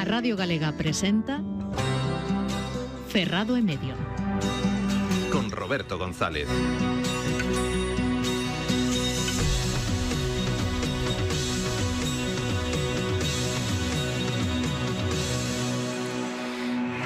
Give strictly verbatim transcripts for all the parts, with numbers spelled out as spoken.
A Radio Galega presenta Ferrado e Medio. Con Roberto González.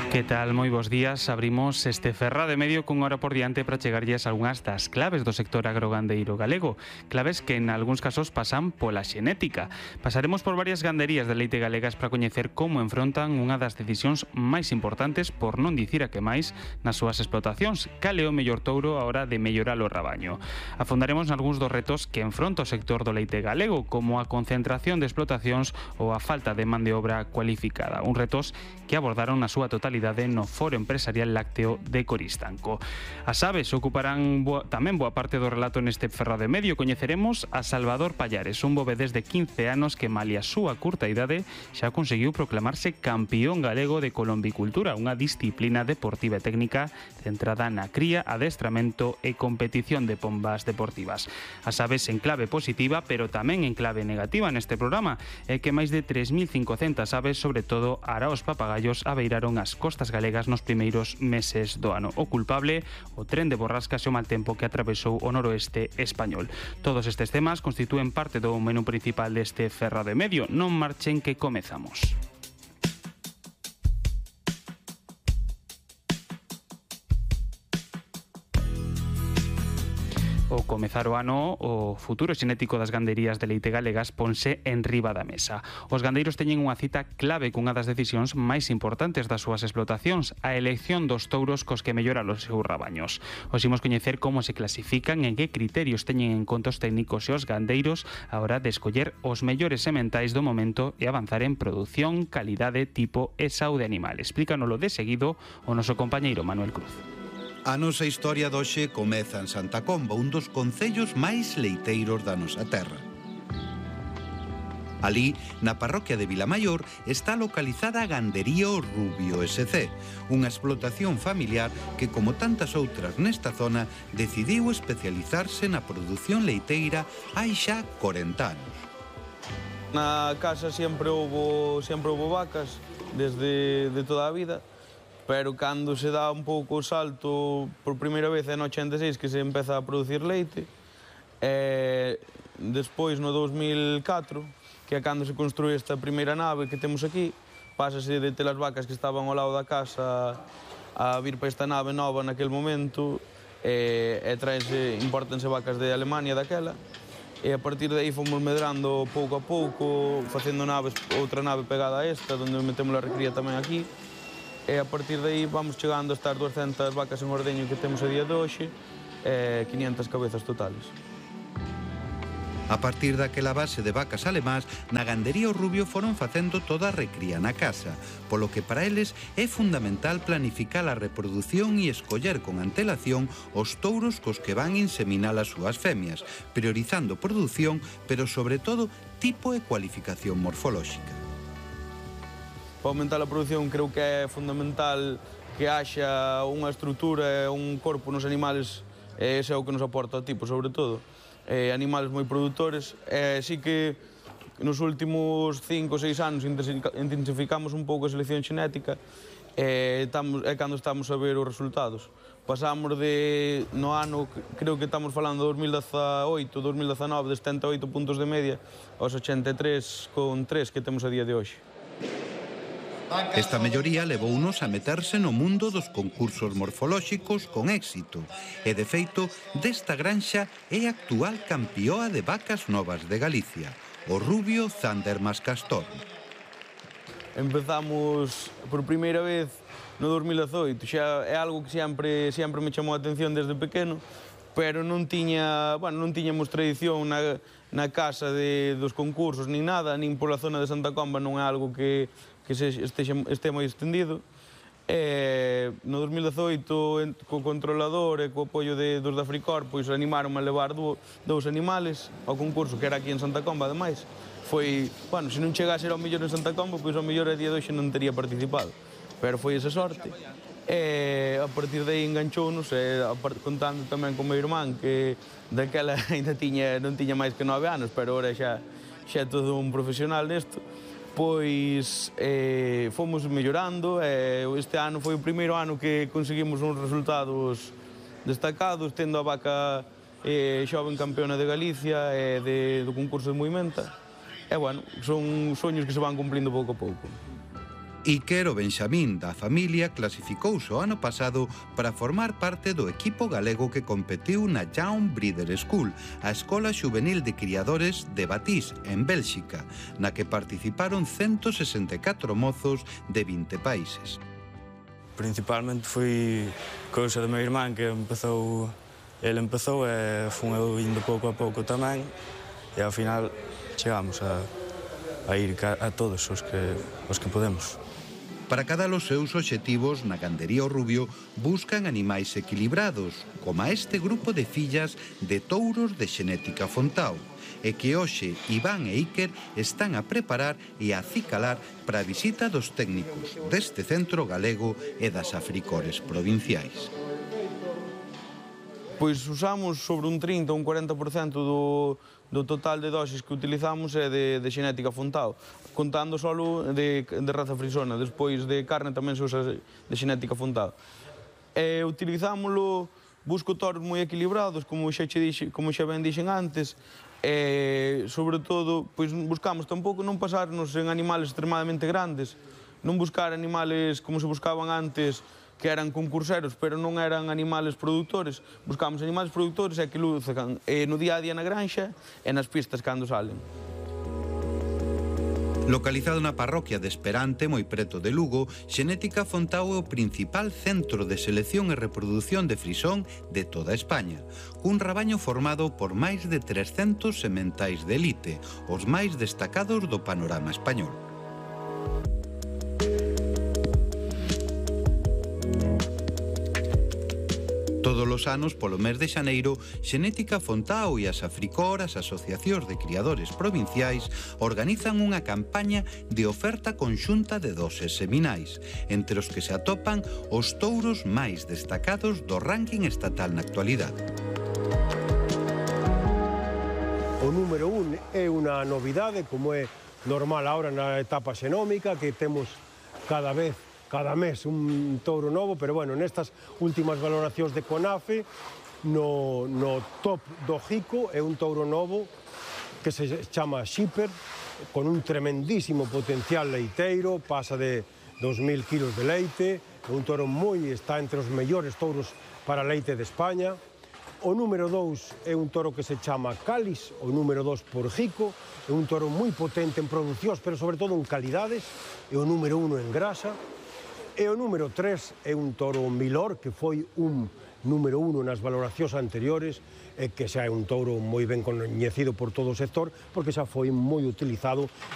Que tal? Moi bons días. Abrimos este Ferrado e Medio cun hora por diante para chegarlles algunhas das claves do sector agrogandeiro galego. Claves que en algúns casos pasan pola xenética. Pasaremos por varias ganderías de leite galegas para coñecer como enfrontan unha das decisións máis importantes, por non dicir a que máis, nas súas explotacións. Cal é o mellor touro a hora de mellorar o rabaño? Afondaremos nalgúns dos retos que enfronta o sector do leite galego, como a concentración de explotacións ou a falta de man de obra cualificada. Un retos que abordaron na súa totalidade no Foro Empresarial Lácteo de Coristanco. As aves ocuparán boa, tamén boa parte do relato neste Ferrado e Medio. Coñeceremos a Salvador Pallares, un bovedés de quince anos que, malia a súa curta idade, xa conseguiu proclamarse campeón galego de colombicultura, unha disciplina deportiva e técnica centrada na cría, adestramento e competición de pombas deportivas. As aves en clave positiva, pero tamén en clave negativa neste programa, é que máis de tres mil cincocentas aves, sobre todo araos papagallos, abeiraron as costas galegas nos primeiros meses do ano. O culpable, o tren de borrascas e o mal tempo que atravesou o noroeste español. Todos estes temas constitúen parte do menú principal deste Ferrado e Medio. Non marchen que comezamos. Ao comezar o ano, o futuro xenético das ganderías de leite galegas ponse en riba da mesa. Os gandeiros teñen unha cita clave cunha das decisións máis importantes das súas explotacións, a elección dos touros cos que melloran os seus rabaños. Os imos coñecer como se clasifican, en que criterios teñen en conta os técnicos e os gandeiros a hora de escoller os mellores sementais do momento e avanzar en produción, calidade, tipo e saúde animal. Explícanolo de seguido o noso compañeiro Manuel Cruz. A nosa historia doxe comeza en Santa Comba, un dos concellos máis leiteiros da nosa terra. Alí, na parroquia de Vilamaior, está localizada a gandería O Rubio S C, unha explotación familiar que, como tantas outras nesta zona, decidiu especializarse na produción leiteira hai xa corenta anos. Na casa sempre houbo, sempre houbo vacas, desde de toda a vida, pero cando se dá un pouco o salto por primeira vez é no ochenta e seis que se empeza a producir leite, e despois no dos mil e catro, que é cando se construi esta primeira nave que temos aquí, pásase de ter as vacas que estaban ao lado da casa a vir para esta nave nova naquele momento, e, e traense, importanse vacas de Alemania daquela, e a partir de aí fomos medrando pouco a pouco, facendo naves, outra nave pegada a esta, onde metemos a recría tamén aquí, e a partir de aí vamos chegando a estas duascentas vacas en ordeño que temos a día de hoxe, e quinhentas cabezas totales. A partir daquela base de vacas alemás, na gandería O Rubio foron facendo toda a recría na casa, polo que para eles é fundamental planificar a reproducción e escoller con antelación os touros cos que van inseminar as súas femias, priorizando produción, pero sobre todo tipo e cualificación morfolóxica. Para aumentar a produción creo que é fundamental que haxa unha estrutura e un corpo nos animales, e ese é o que nos aporta o tipo, sobre todo. Eh, animales moi produtores, e sí que nos últimos cinco ou seis anos intensificamos un pouco a selección xenética, e estamos, é cando estamos a ver os resultados. Pasamos de, no ano, creo que estamos falando de dos mil dezaoito, dos mil dezanove, de setenta e oito puntos de media aos ochenta e tres con tres que temos a día de hoxe. Esta melloría levounos a meterse no mundo dos concursos morfolóxicos con éxito e, de feito, desta granxa é a actual campeoa de vacas novas de Galicia, O Rubio Zander Mas Castor. Empezamos por primeira vez no dos mil dezaoito, xa é algo que sempre, sempre me chamou a atención desde pequeno, pero non tiña, bueno, non tiñamos tradición na, na casa de, dos concursos, nin nada, nin pola zona de Santa Comba non é algo que, que se, este, este moi extendido. E no dos mil dezaoito, co controlador e co apoio de, dos da Fricor, pois animaron a levar do, dous animales ao concurso, que era aquí en Santa Comba, ademais. Foi, bueno, se non chegase ao mellor en Santa Comba, pois ao mellor a día de hoxe non teria participado. Pero foi esa sorte. E a partir de aí enganchounos, e contando tamén con meu irmán, que daquela ainda tiña, non tiña máis que nove anos, pero ora xa, xa é todo un profesional nesto. Despois eh, fomos mellorando, e este ano foi o primeiro ano que conseguimos uns resultados destacados, tendo a vaca eh, xoven campeona de Galicia e de, do concurso de Moimenta. E, bueno, son soños que se van cumplindo pouco a pouco. Iker, o Benxamín da familia, clasificouse o ano pasado para formar parte do equipo galego que competiu na Young Breeder School, a escola xuvenil de criadores de Batís, en Bélxica, na que participaron ciento sesenta e catro mozos de vinte países. Principalmente foi cousa do meu irmán que empezou, ele empezou e fun eu indo pouco a pouco tamén, e ao final chegamos a, a ir a todos os que, os que podemos. Para cada los seus obxectivos, na gandería o Rubio buscan animais equilibrados, como este grupo de fillas de touros de xenética Fontao, e que hoxe Iván e Iker están a preparar e a acicalar para a visita dos técnicos deste centro galego e das Africores provinciais. Pois usamos sobre un trinta ou un cuarenta por cento do, do total de dosis que utilizamos é de, de xenética Fontao, contando solo de, de raza frisona. Despois de carne tamén se usa de xenética Fontao. E utilizámoslo, busco toros moi equilibrados, como xa, che dixe, como xa ben dixen antes, e, sobre todo, pois buscamos tampouco non pasarnos en animales extremadamente grandes, non buscar animales como se buscaban antes, que eran concurseros, pero non eran animales produtores. Buscamos animales produtores e que luzcan e no día a día na granxa e nas pistas cando salen. Localizado na parroquia de Esperante, moi preto de Lugo, Xenética Fontao é o principal centro de selección e reproducción de frisón de toda España, cun rabaño formado por máis de trescentos sementais de elite, os máis destacados do panorama español. Todos os anos, polo mes de xaneiro, Xenética Fontao e as Africor, as asociacións de criadores provinciais, organizan unha campaña de oferta conxunta de doses seminais, entre os que se atopan os touros máis destacados do ranking estatal na actualidade. O número un é unha novidade, como é normal ahora na etapa xenómica, que temos cada vez cada mes un touro novo, pero bueno, nestas últimas valoracións de CONAFE, no, no top do Jico é un touro novo que se chama Shipper, con un tremendísimo potencial leiteiro, pasa de dos mil kilos de leite, é un touro moi, está entre os mellores touros para leite de España. O número dous é un toro que se chama Cális, o número dous por Jico, é un toro moi potente en producións, pero sobre todo en calidades, é o número uno en grasa. E o número tres é un toro Milor, que foi un número uno nas valoracións anteriores, e que xa é un touro moi ben coñecido por todo o sector, porque xa foi moi utilizado